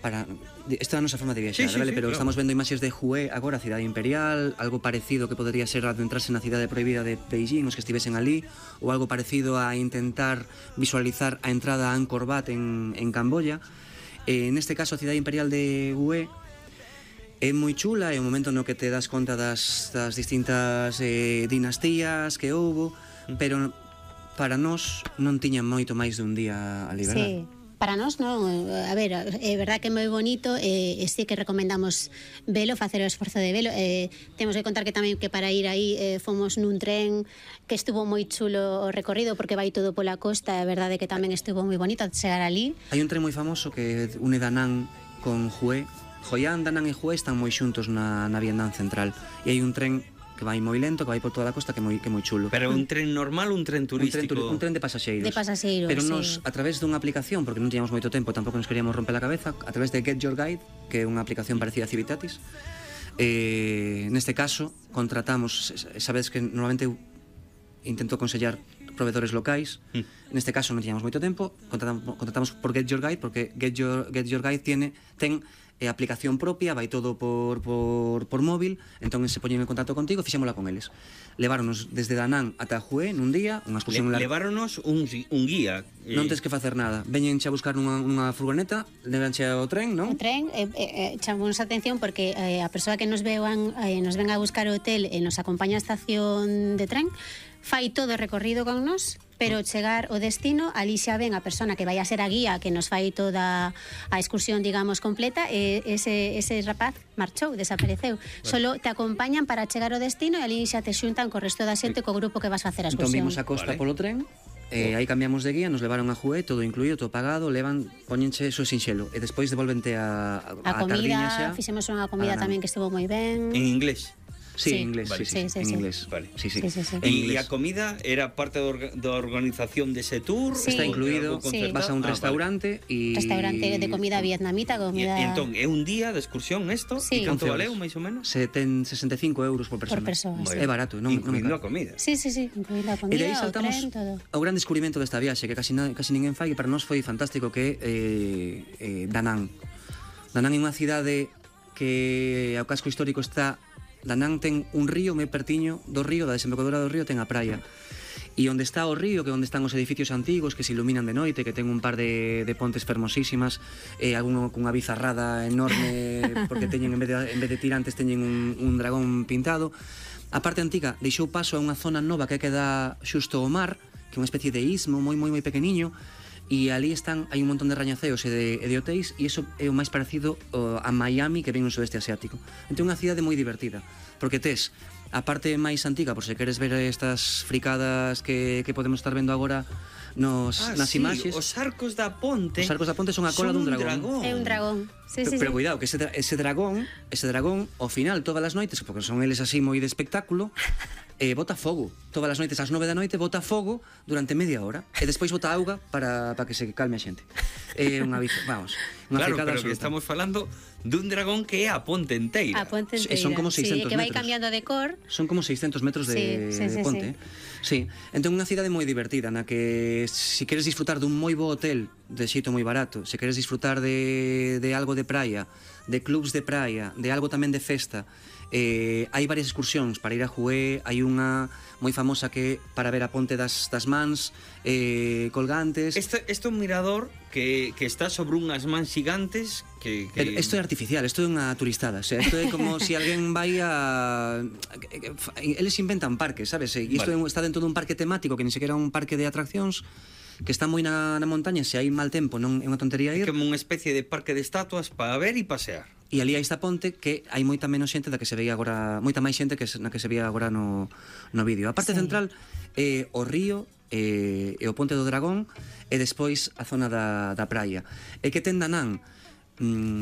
esta é a nosa forma de viaxar, vale? Pero estamos vendo imaxes de Hue agora, a cidade imperial, algo parecido que podería ser adentrarse na cidade prohibida de Beijing, os que estivesen ali, ou algo parecido a intentar visualizar a entrada a Angkor Wat en Camboya. Neste caso, a cidade imperial de Hue é moi chula, é un momento no que te das conta das distintas dinastías que houbo, pero para nós non tiña moito máis dun día ali, verdad? Sí. Para nós non, a ver, é verdad que é moi bonito, sí que recomendamos velo, facer o esforzo de velo. Temos que contar que tamén que para ir aí fomos nun tren que estuvo moi chulo o recorrido porque vai todo pola costa, é verdade que tamén estuvo moi bonito chegar ali. Hai un tren moi famoso que une Da Nang con Hue. Hoi An, Da Nang e Hue están moi xuntos na Vietnam central e hai un tren que vai moi lento, que vai por toda a costa, que é moi chulo. Pero un tren normal ou un tren turístico? Un tren de pasaxeiros. De pasaxeiros, pero nos, a través dunha aplicación, porque non tiñamos moito tempo, tampouco nos queríamos romper a cabeza, a través de Get Your Guide, que é unha aplicación parecida a Civitatis, neste caso, contratamos, sabedes que normalmente eu intento aconsellar proveedores locais, neste caso non tiñamos moito tempo, contratamos por Get Your Guide, porque Get Your Guide ten aplicación propia, vai todo por móvil, entón se poñen en contacto contigo, fixémola con eles. Leváronos desde Da Nang ata Hue nun día, unha excursión larga. Leváronos un guía. Non tens que facer nada. Veñenche a buscar nunha furgoneta, levanche ao tren, non? O tren, chamamos a atención porque a persoa que nos ven a buscar o hotel e nos acompaña a estación de tren, fai todo o recorrido con nós, pero chegar ao destino, ali xa ven a persona que vai a ser a guía, que nos fai toda a excursión, digamos, completa, e ese rapaz marchou, desapareceu. Solo te acompañan para chegar ao destino e ali xa te xuntan co resto da xente, co grupo que vas a facer a excursión. Entón vimos a costa polo tren, aí cambiamos de guía, nos levaron a Hue, todo incluído, todo pagado, poñenche eso sinxelo, e despois devolvente a tardiña xa. Fixemos unha comida tamén que estuvo moi ben. En inglés? Sí, en inglés, en inglés. Vale. Sí. E a comida era parte da organización dese tour? Está incluído, vas a un restaurante e... Restaurante de comida vietnamita, comida... E entón, é un día de excursión isto? E canto valeu, máis ou menos? Se ten 65 euros por persona. Sí. É barato, non incluído a comida. Sí, incluído a comida, e de aí saltamos o tren, todo. Ao gran descubrimento desta viaxe, que casi ninguén fai, e para nós foi fantástico, que é Da Nang. Da Nang é unha cidade que ao casco histórico está... Da Nang ten un río moi pertiño do río, da desembocadura do río ten a praia. E onde está o río, que onde están os edificios antigos que se iluminan de noite, que ten un par de pontes fermosísimas, alguno cunha bizarrada enorme, porque teñen en vez de tirantes teñen un dragón pintado. A parte antiga deixou paso a unha zona nova que queda xusto ao mar, que é unha especie de istmo moi pequeniño, e ali hai un montón de rañaceos e de hotéis, e iso é o máis parecido a Miami que ven no sudeste asiático. Entón é unha cidade moi divertida, porque tes a parte máis antiga, por se queres ver estas fricadas que podemos estar vendo agora nas imaxes. Os arcos da ponte. Os arcos da ponte son a cola dun dragón. É un dragón. Pero cuidado, que ese dragón, ao final, todas as noites, porque son eles así moi de espectáculo, bota fogo. Todas as noites, ás 9 da noite, bota fogo durante media hora. E despois bota auga para que se calme a xente. É unha fricada pero absoluta. Que estamos falando dun dragón que é a ponte enteira. A ponte enteira. Son como 600 metros. Que vai cambiando de cor. Son como 600 metros de ponte. Sí. Entón unha cidade moi divertida, na que se queres disfrutar dun moi bo hotel de xeito moi barato, se queres disfrutar de algo de praia, de clubs de praia, de algo tamén de festa, hai varias excursións para ir a Hue. Hai unha moi famosa que para ver a ponte das mans colgantes. Este é un mirador que está sobre unhas mans gigantes que... Isto é artificial, isto é unha turistada, o sea, isto é como se alguén vai a... Eles inventan parques, sabes? E isto está dentro dun parque temático que ni sequera é un parque de atraccións, que está moi na montaña. Se hai mal tempo non é unha tontería ir. É como unha especie de parque de estatuas para ver e pasear. E ali hai esta ponte que hai moita menos xente da que se veía agora, moita máis xente na que se veía agora no vídeo. A parte central é o río e o ponte do dragón, e despois a zona da praia. E que ten Da Nang,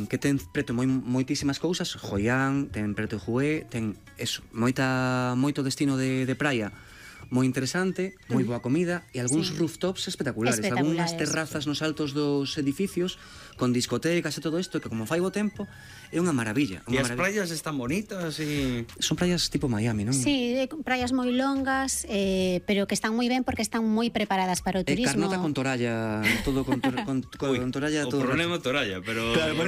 que ten preto moitísimas cousas. Hoi An, ten preto Hue, ten moito destino de praia moi interesante, moi boa comida e algúns rooftops espectaculares, algunhas terrazas nos altos dos edificios con discotecas e todo isto, que como fai bo tempo é unha maravilla. E as praias están bonitas e... Son praias tipo Miami, non? Sí, praias moi longas, pero que están moi ben porque están moi preparadas para o turismo. Carnota con toralla, todo con toralla. O problema é toralla, pero...